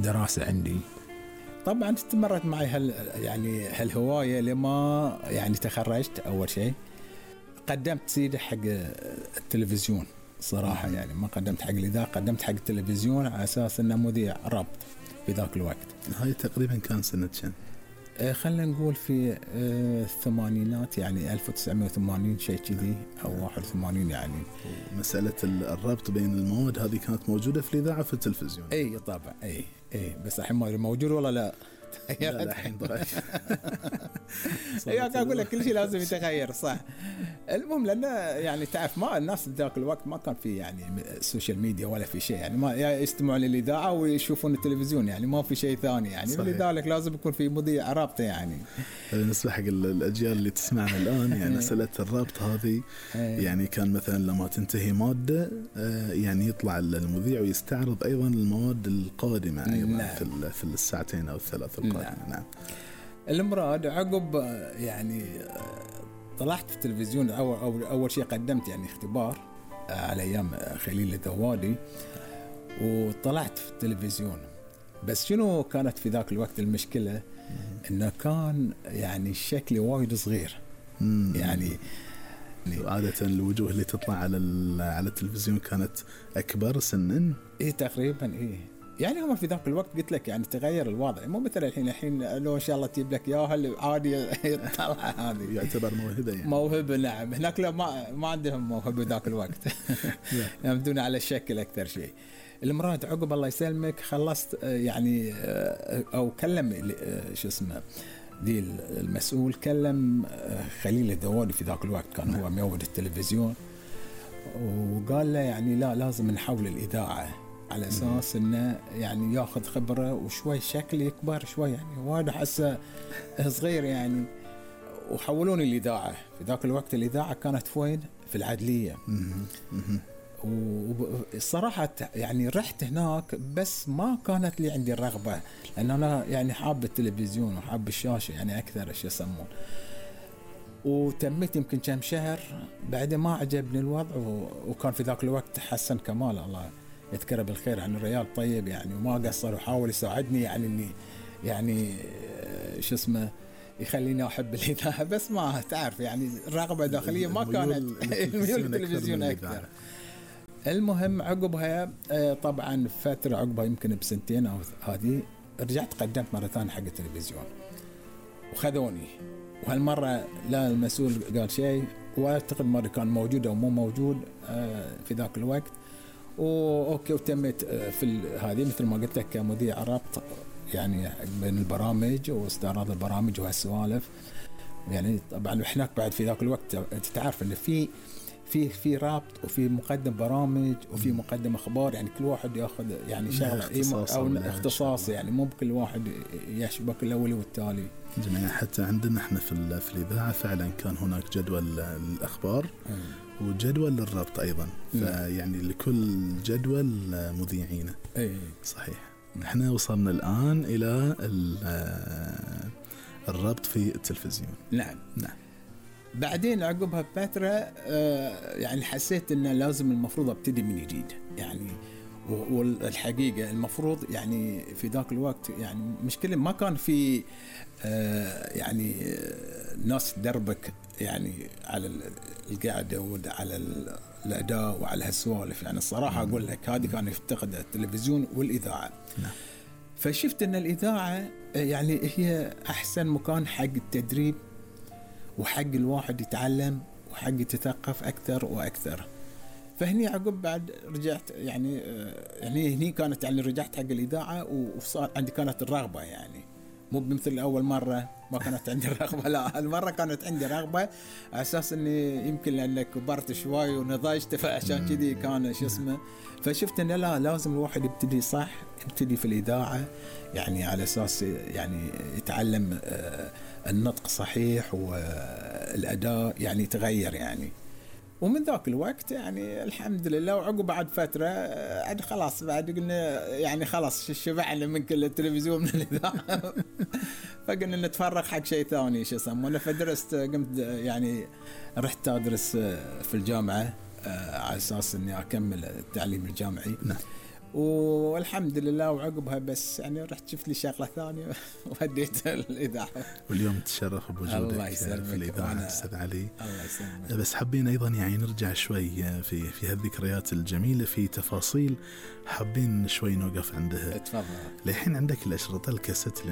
دراسة عندي. طبعا استمرت معي هالهواية لما يعني تخرجت. أول شيء قدمت سيدي حق التلفزيون صراحة، يعني ما قدمت حق الإذاعة، قدمت حق التلفزيون على أساس أنه مذيع ربط في ذاك الوقت. هاي تقريبا كان سنة كم؟ خلنا نقول في الثمانينات، يعني 1980 شيء كذي أو 81 يعني. مسألة الربط بين المواد هذه كانت موجودة في الإذاعة في التلفزيون؟ أي طبعا، أي بس الحين ما موجود ولا لا؟ لا الحين ضعيف. أقول لك كل شيء لازم يتغير صح. المهم لأن يعني تعرف ما الناس ذاك الوقت ما كان في يعني السوشيال ميديا ولا في شيء، يعني ما يستمعون للإذاعة ويشوفون التلفزيون، يعني ما في شيء ثاني يعني. لذلك لازم يكون في مذيع رابطة يعني. بالنسبة حق الأجيال اللي تسمعنا الآن يعني مسألة الرابط هذه يعني كان مثلا لما تنتهي مادة يعني يطلع المذيع ويستعرض أيضا المواد القادمة أيضا في الساعتين أو الثلاث القادمة. نعم. المراد عقب يعني طلعت في التلفزيون. أول شيء قدمت يعني اختبار على أيام خليل الذوالي وطلعت في التلفزيون. بس شنو كانت في ذاك الوقت المشكلة؟ إنه كان يعني الشكل وايد صغير يعني عادة الوجوه اللي تطلع على التلفزيون كانت أكبر سنا. تقريبا يعني هم في ذاك الوقت قلت لك يعني تغير الوضع، مو مثل الحين لو ان شاء الله تجيب لك اياها عادي يطلع. هذه يعتبر موهبة يعني. موهبة نعم. هناك لا ما عندهم موهبة ذاك الوقت. يعتمدون على الشكل اكثر شيء. المراد عقب الله يسلمك خلصت يعني او كلم شو اسمه ذي المسؤول، كلم خليل الذوالي في ذاك الوقت كان هو ميود التلفزيون، وقال له يعني لا لازم نحول الإذاعة على أساس إنه يعني يأخذ خبرة وشوي شكل يكبر شوي، يعني وايد حسه صغير يعني. وحولوني الإذاعة. في ذاك الوقت الإذاعة كانت وين؟ في العدلية. والصراحة يعني رحت هناك بس ما كانت لي عندي الرغبة، لأن أنا يعني حاب التلفزيون وحاب الشاشة يعني أكثر إيش يسمون. وتميت يمكن كم شهر بعد ما عجبني الوضع. وكان في ذاك الوقت حسن كمال الله يذكره بالخير يعني الريال طيب يعني وما قصر وحاول يساعدني يعني إني يعني شو اسمه يخليني أحب الإذاعة، بس ما تعرف يعني الرغبة داخلية ما كانت الميول التلفزيون أكثر. المهم عقبها طبعا فترة عقبها يمكن بسنتين أو هذه رجعت قدمت مرة ثانية حق التلفزيون وخذوني، وهالمرة لا المسؤول قال شيء واعتقد مرة كان موجود أو مو موجود في ذاك الوقت. وأوكي وتمت في هذه مثل ما قلت لك كمذيع ربط يعني بين البرامج واستعراض البرامج وهالسوالف يعني. طبعا هناك بعد في ذاك الوقت تعرف إن في رابط وفي مقدم برامج وفي مقدم اخبار، يعني كل واحد ياخذ يعني شغله او اختصاص يعني مو بكل واحد يشبك الاول والتالي. جميل. حتى عندنا احنا في الاذاعه فعلا كان هناك جدول الاخبار وجدول الربط ايضا، فيعني لكل جدول مذيعين. صحيح. احنا وصلنا الان الى الربط في التلفزيون. نعم. بعدين عقبها بفترة يعني حسيت إن لازم المفروض أبتدي من جديد يعني. والحقيقة المفروض يعني في ذاك الوقت يعني مشكلة ما كان في يعني ناس تدربك يعني على القاعدة وعلى الأداء وعلى هالسوالف يعني. الصراحة أقول لك هذه كان يفتقد التلفزيون والإذاعة. فشفت إن الإذاعة يعني هي أحسن مكان حق التدريب وحق الواحد يتعلم وحق يتثقف أكثر وأكثر. فهني عقب بعد رجعت يعني هني كانت يعني رجعت حق الإذاعة وصار عندي كانت الرغبة يعني مو بمثل أول مرة ما كانت عندي الرغبة، لا المرة كانت عندي رغبة على أساس إني يمكن لأنك كبرت شوي ونضجت فعشان كذي كان شو اسمه. فشفت إن لا لازم الواحد يبتدي صح، يبتدي في الإذاعة يعني على أساس يعني يتعلم النطق صحيح والأداء يعني يتغير يعني. ومن ذاك الوقت يعني الحمد لله. وعقب بعد فترة عاد خلاص بعد قلنا يعني خلاص شبعنا من كل التلفزيون من الإذاعة فقلنا نتفرغ حق شيء ثاني شو يسمونه. فدرست قمت يعني رحت أدرس في الجامعة على أساس إني أكمل التعليم الجامعي. والحمد لله. وعقبها بس يعني رحت شفت لي شغلة ثانية وهديت الإذاعة. واليوم تشرف بوجودك في الإذاعة أستاذ علي. الله يسلمك. بس حابين أيضا يعني نرجع شوي في هالذكريات الجميلة، في تفاصيل حابين شوي نوقف عندها. تفضل. لحين عندك الأشرطة الكاسيت